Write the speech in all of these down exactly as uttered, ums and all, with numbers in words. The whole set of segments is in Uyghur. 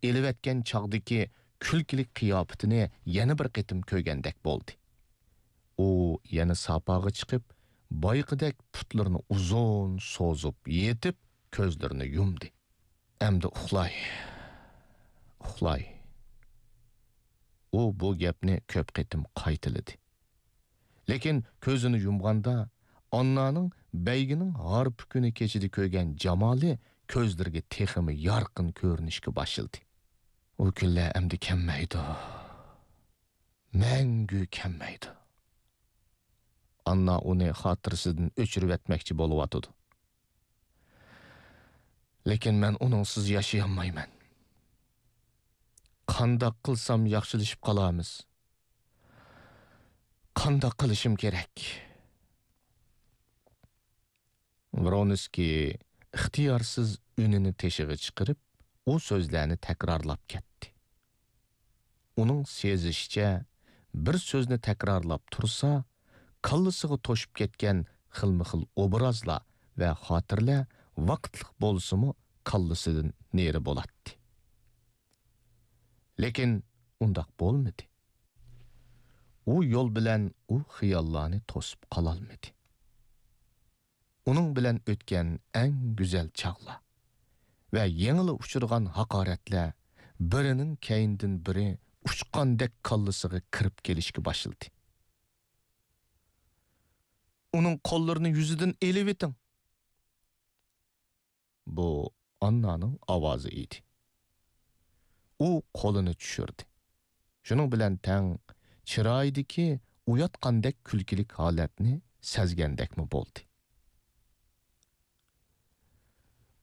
ئېلىۋەتكەن چاغدىكى كۈلكىلىك قىياپىتىنى يەنە بىر قېتىم كۆرگەندەك بولدى. ئۇ يەنە ساپاغا چىقىپ، بايىقىدەك پۇتلىرىنى ئۇزۇن سوزۇپ يېتىپ، كۆزلىرىنى يۇمدى. «ئەمدى ئۇخلاي، ئۇخلاي.» ئۇ بۇ گەپنى كۆپ قېتىم قايتىلىدى. لېكىن كۆزىنى يۇمغاندا، ئاننانىڭ بەيگىنىڭ ھارپا كۈنى كېچىدە كۆرگەن جامالى كۆزلىرىگە تېخىمۇ يارقىن كۆرۈنۈشكە باشلىدى. ئۇ كۈنلەر ئەمدى كەلمەيدۇ. مەڭگۈ كەلمەيدۇ. ئاننا ئۇنى خاتىرىسىدىن ئۆچۈرۈۋەتمەكچى بولۇۋاتىدۇ. لېكىن مەن ئۇنىڭسىز ياشىيالمايمەن. قانداق قىلسام ياخشىلىشىپ قالارمىز؟ قانداق قىلىشىم كېرەك؟ ۋرونسكىي ئىختىيارسىز ئۈنىنى تېشىغا چىقىرىپ، ئۇ سۆزلەرنى تەكرارلاپ كەتتى. ئۇنىڭ سېزىشىچە، بىر سۆزنى تەكرارلاپ تۇرسا، كاللىسىغا توشۇپ كەتكەن خىلمۇخىل ئوبرازلار ۋە خاتىرىلەر ۋاقىتلىق بولسىمۇ كاللىسىدىن نېرى بولاتتى. لېكىن ئۇنداق بولمىدى. ئۇ يول بىلەن ئۇ خىياللارنى توسۇپ قالالمىدى. ئۇنىڭ بىلەن ئۆتكەن ئەڭ گۈزەل چاغلار ۋە يېڭىلا ئۇچرىغان ھاقارەتلەر بىرىنىڭ كەينىدىن بىرى ئۇچقاندەك كاللىسىغا كىرىپ كېلىشكە باشلىدى. «ئۇنىڭ قوللىرىنى يۈزىدىن ئېلىۋېتىڭ!» بۇ ئاننانىڭ ئاۋازى ئىدى. ئۇ قولىنى چۈشۈردى. شۇنىڭ بىلەن تەڭ چىرايىدىكى ئۇياتقاندەك كۈلكىلىك ھالەتنى سەزگەندەكمۇ بولدى.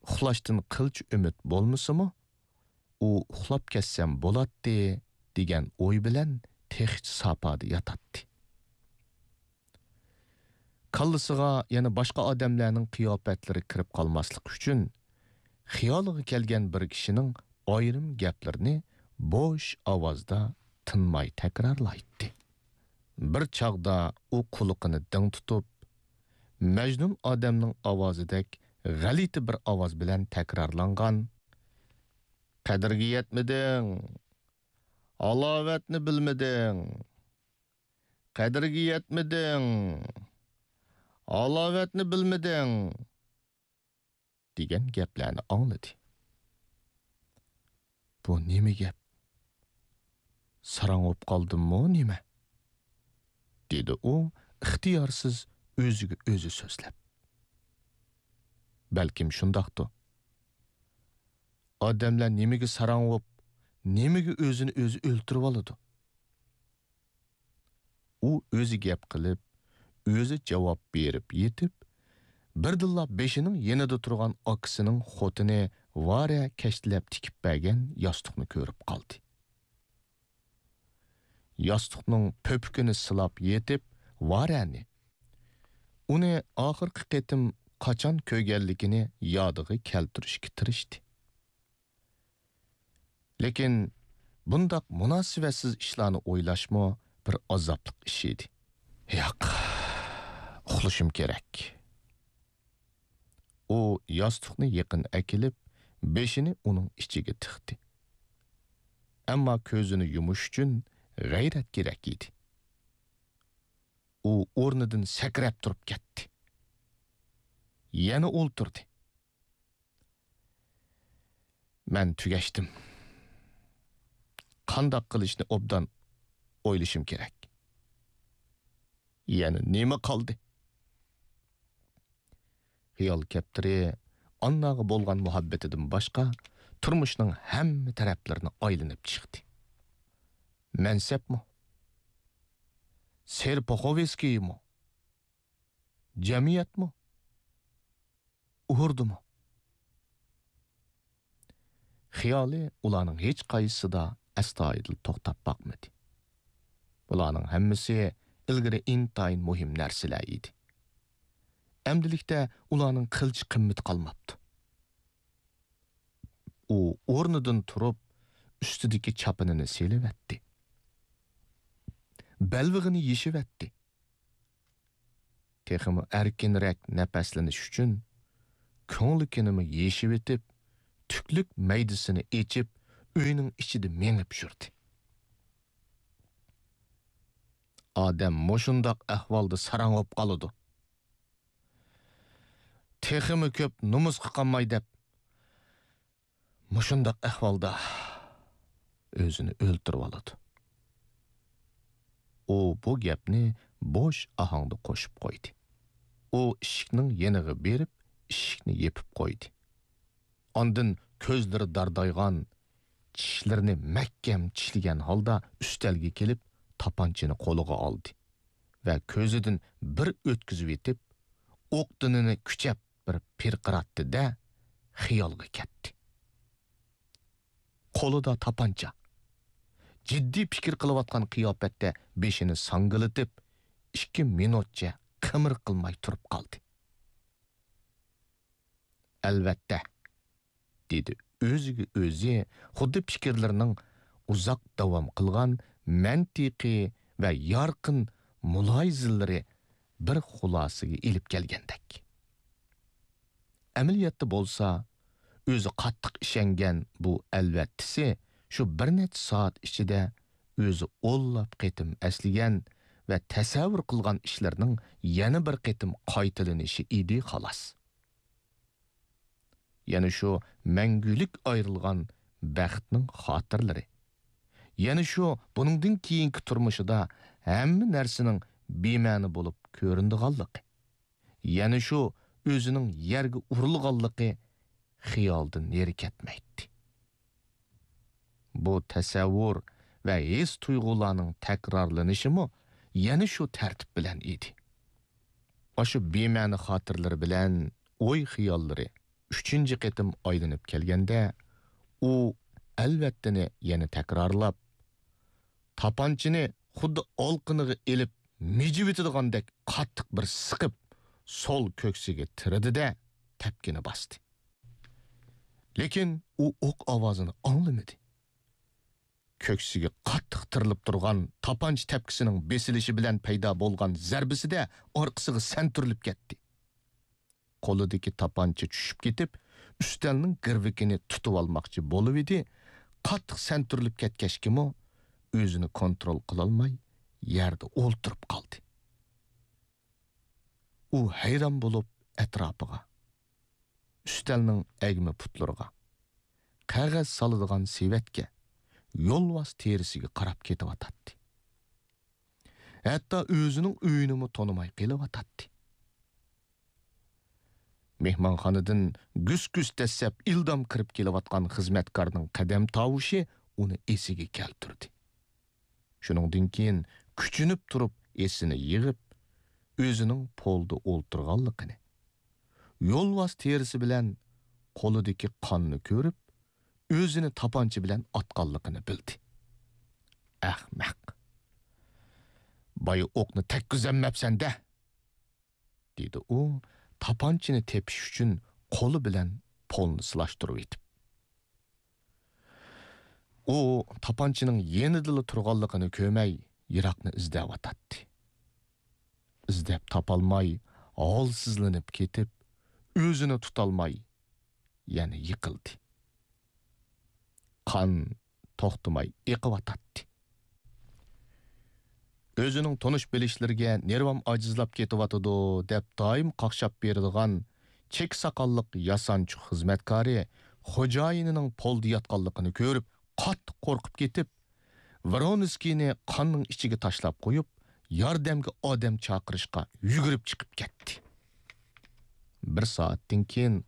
ئۇخلاشتىن قىلچە ئۈمىد بولمىسىمۇ، ئۇ ئۇخلاپ كەتسەم بولاتتى دېگەن ئوي بىلەن تېخىچە ساپادا ياتاتتى. كاللىسىغا يەنە باشقا ئادەملەرنىڭ قىياپەتلىرى كىرىپ قالماسلىقى ئۈچۈن، خىيالىغا كەلگەن بىر كىشىنىڭ ئايرىم گەپلىرىنى بوش ئاۋازدا تىنماي تەكرارلايتتى. بىر چاغدا ئۇ قۇلىقىنى دىڭ تۇتۇپ، مەجنۇن ئادەمنىڭ ئاۋازىدەك غەلىتە بىر ئاۋاز بىلەن تەكرارلانغان: «قەدرىگە يەتمىدىڭ! ھالاۋەتنى بىلمىدىڭ! قەدرىگە يەتمىدىڭ! ھالاۋەتنى بىلمىدىڭ!» دېگەن گەپلەرنى ئاڭلىدى. «بۇ نېمە گەپ؟ ساراڭ بولۇپ قالدىممۇ نېمە؟» دېدى ئۇ ئىختىيارسىز ئۆزىگە ئۆزى سۆزلەپ. «بەلكىم شۇنداقتۇ. ئادەملەر نېمىگە ساراڭ بولۇپ، نېمىگە ئۆزىنى ئۆزى ئۆلتۈرۈۋالىدۇ؟» ئۇ ئۆزى گەپ قىلىپ، ئۆزى جاۋاب بېرىپ يېتىپ، بىردىنلا بېشىنىڭ يېنىدا تۇرغان ئاكىسىنىڭ خوتۇنى ۋارە كەشتىلەپ تىكىپ بەرگەن ياستۇقنى كۆرۈپ قالدى. ياستۇقنىڭ پۆپۈكىنى سىلاپ يېتىپ، ۋارەنى، ئۇنى ئاخىرقى قېتىم قاچان كۆرگەنلىكىنى يادىغا كەلتۈرۈشكە تىرىشتى. لېكىن بۇنداق مۇناسىۋەتسىز ئىشلارنى ئويلاشمۇ بىر ئازابلىق ئىش ئىدى. «ياق، ئۇخلىشىم كېرەك.» ئۇ ياستۇقنى يېقىن ئەكېلىپ، بېشىنى ئۇنىڭ ئىچىگە تىقتى. ئەمما كۆزىنى يۇمۇش ئۈچۈن غەيرەت كېرەك ئىدى. ئۇ ئورنىدىن سەكرەپ تۇرۇپ كەتتى. يەنە ئولتۇردى. «مەن تۈگەشتىم. قانداق قىلىشنى ئوبدان ئويلىشىم كېرەك. يەنە نېمە قالدى؟» خىيال كەپتىرى ئانناغا بولغان مۇھەببىتىدىن باشقا، تۇرمۇشنىڭ ھەممە تەرەپلىرىنى ئايلىنىپ چىقتى. مەنسەپمۇ؟ سېرپۇخوۋسكىيمۇ؟ جەمئىيەتمۇ؟ ئۇھۇردىمۇ؟ خىيالى ئۇلارنىڭ ھېچقايسىسىدا ئەستايىدىل توختاپ باقمىدى. بۇلارنىڭ ھەممىسى ئىلگىرى ئىنتايىن مۇھىم نەرسىلەر ئىدى. ئەمدىلىكتە ئۇلارنىڭ قىلچە قىممىتى قالماپتۇ. ئۇ ئورنىدىن تۇرۇپ، ئۈستىدىكى چاپىنىنى سېلىۋەتتى. بەلۋېغىنى يېشىۋەتتى. تېخىمۇ ئەركىنرەك نەپەسلىنىش ئۈچۈن، كۆڭلىكىنىمۇ يېشىۋېتىپ، تۈكلۈك مەيدىسىنى ئېچىپ، ئۆينىڭ ئىچىدە مېڭىپ يۈردى. ئادەم مۇشۇنداق ئەھۋالدا ساراڭ بولۇپ قالىدۇ. تېخىمۇ كۆپ نومۇسقا قالماي دەپ، مۇشۇنداق ئەھۋالدا ئۆزىنى ئۆلتۈرۈۋالىدۇ. ئۇ بۇ گەپنى بوش ئاھاڭدا قوشۇپ قويدى. ئۇ ئىشىكنىڭ يېنىغا بېرىپ، ئىشىكنى يېپىپ قويدى. ئاندىن كۆزلىرى داردايغان، چىشلىرىنى مەھكەم چىشلىگەن ھالدا ئۈستەلگە كېلىپ، تاپانچىنى قولىغا ئالدى ۋە كۆزىدىن بىر ئۆتكۈزۈۋېتىپ، ئوق دېنىنى كۈچەپ بىر پىرقىراتتى-دە، خىيالغا كەتتى. قولىدا تاپانچا. جىددىي پىكىر قىلىۋاتقان قىياپەتتە بېشىنى ساڭگىلىتىپ، ئىككى مىنۇتچە قىمىر قىلماي تۇرۇپ قالدى. ئەلۋەتتە، دېدى ئۆزىگە ئۆزى، خۇددى پىكىرلىرىنىڭ ئۇزاق داۋام قىلغان مەنتىقىي ۋە يارقىن مۇلاھىزىلىرى بىر خۇلاسىگە ئېلىپ كەلگەندەك. ئەمەلىيەتتە بولسا، ئۆزى قاتتىق ئىشەنگەن بۇ ئەلۋەتتىسى شۇ بىر نەچچە سائەت ئىچىدە ئۆزى ئونلاپ قېتىم ئەسلىگەن ۋە تەسەۋۋۇر قىلغان ئىشلىرىنىڭ يەنە بىر قېتىم قايتىلىنىشى ئىدى، خالاس. يەنە شۇ مەڭگۈلۈك ئايرىلغان بەختنىڭ خاتىرىلىرى. يەنە شۇ بۇنىڭدىن كېيىنكى تۇرمۇشىدا ھەممە نەرسىنىڭ بىمەنە بولۇپ كۆرۈنىدىغانلىقى. يەنە شۇ ئۆزىنىڭ يەرگە ئۇرۇلغانلىقى خىيالدىن نېرى كەتمەيتتى. بۇ تەسەۋۋۇر ۋە ھېس-تۇيغۇلارنىڭ تەكرارلىنىشىمۇ يەنە شۇ تەرتىپ بىلەن ئىدى. ئاشۇ بىمەنە خاتىرىلىرى بىلەن ئوي-خىياللىرى ئۈچىنچى قېتىم ئايلىنىپ كەلگەندە، ئۇ ئەلۋەتتىنى يەنە تەكرارلاپ، تاپانچىنى خۇددى ئالىقىنىغا ئېلىپ مىجىۋېتىدىغاندەك قاتتىق بىر سىقىپ، سول كۆكسىگە تىرىدى-دە، تەپكىنى باستى. لېكىن ئۇ ئوق ئاۋازىنى ئاڭلىمىدى. كۆكسىگە قاتتىق تىرىلىپ تۇرغان تاپانچا تەپكىسىنىڭ بېسىلىشى بىلەن پەيدا بولغان زەربىسىدە ئارقىسىغا سەنتۈرۈلۈپ كەتتى. قولىدىكى تاپانچا چۈشۈپ كېتىپ، ئۈستەلنىڭ گىرۋىكىنى تۇتۇۋالماقچى بولۇۋىدى، قاتتىق سەنتۈرۈلۈپ كەتكەچكىمۇ ئۆزىنى كونترول قىلالماي يەردە ئولتۇرۇپ قالدى. ئۇ ھەيران بولۇپ ئەتراپىغا، ئۈستەلنىڭ ئەگمە پۇتلىرىغا، قەغەز سالىدىغان سېۋەتكە، يولۋاس تېرىسىگە قاراپ كېتىۋاتاتتى. ھەتتا ئۆزىنىڭ ئۆيىنىمۇ تونۇماي قېلىۋاتاتتى. مېھمانخانىدىن گۈس-گۈس دەسسەپ ئىلدام كىرىپ كېلىۋاتقان خىزمەتكارنىڭ قەدەم تاۋۇشى ئۇنى ئېسىگە كەلتۈردى. شۇنىڭدىن كېيىن كۈچىنىپ تۇرۇپ ئېسىنى يىغىپ، ئۆزىنىڭ پولدا ئولتۇرغانلىقىنى، يولۋاس تېرىسى بىلەن قولىدىكى قاننى كۆرۈپ، ئۆزىنى تاپانچا بىلەن ئاتقانلىقىنى بىلدى. ئەخمەق! بايا ئوقنى تەگكۈزەلمەپسەن-دە! دېدى ئۇ، تاپانچىنى تېپىش ئۈچۈن قولى بىلەن پولنى سىلاشتۇرۇۋېتىپ. ئۇ تاپانچىنىڭ يېنىدىلا تۇرغانلىقىنى كۆرمەي، يىراقنى ئىزدەۋاتاتتى. ئىزدەپ تاپالماي، ھالسىزلىنىپ كېتىپ، ئۆزىنى تۇتالماي، يەنە يىقىلدى. قان توختىماي ئېقىۋاتاتتى. ئۆزىنىڭ تونۇش-بىلىشلىرىگە نېرۋام ئاجىزلاپ كېتىۋاتىدۇ، دەپ دائىم قاقشاپ بېرىدىغان چېكە ساقاللىق ياسانچۇق خىزمەتكارى خوجايىنىنىڭ پولدا ياتقانلىقىنى كۆرۈپ، قاتتىق قورقۇپ كېتىپ، ۋرونسكىينى قاننىڭ ئىچىگە تاشلاپ قويۇپ، ياردەمگە ئادەم چاقىرىشقا يۈگۈرۈپ چىقىپ كەتتى. بىر سائەتتىن كېيىن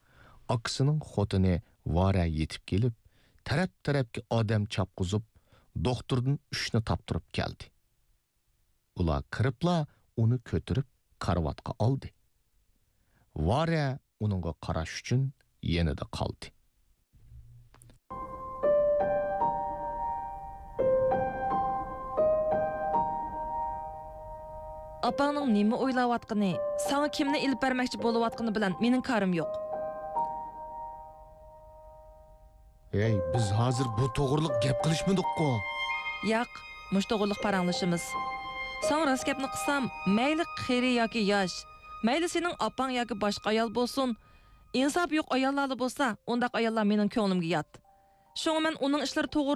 ئاكىسىنىڭ خوتۇنى ۋارە يېتىپ كېلىپ، تەرەپ-تەرەپكە ئادەم چاپقۇزۇپ، دوختۇردىن ئۈچنى تاپتۇرۇپ كەلدى. ئۇلار كىرىپلا ئۇنى كۆتۈرۈپ كارىۋاتقا ئالدى. ۋارە ئۇنىڭغا قاراش ئۈچۈن يېنىدا قالدى. ئاپاڭنىڭ نېمە ئويلاۋاتقىنى، ساڭا كىمنى ئېلىپ بەرمەكچى بولۇۋاتقىنى بىلەن مېنىڭ كارىم يوق. ھەي، بىز ھازىر بۇ توغرىلىق گەپ قىلىشمىدۇققۇ؟ ياق، مۇشۇ توغرىلىق پاراڭلىشىمىز. ساڭا راست گەپنى قىلسام، مەيلى قېرى ياكى ياش، مەيلى سېنىڭ ئاپاڭ ياكى باشقا ئايال بولسۇن، ئىنسابى يوق ئاياللارلا بولسا، ئۇنداق ئاياللار مېنىڭ كۆڭلۈمگە يات. شۇڭا مەن ئۇنىڭ ئىشلىرى توغرا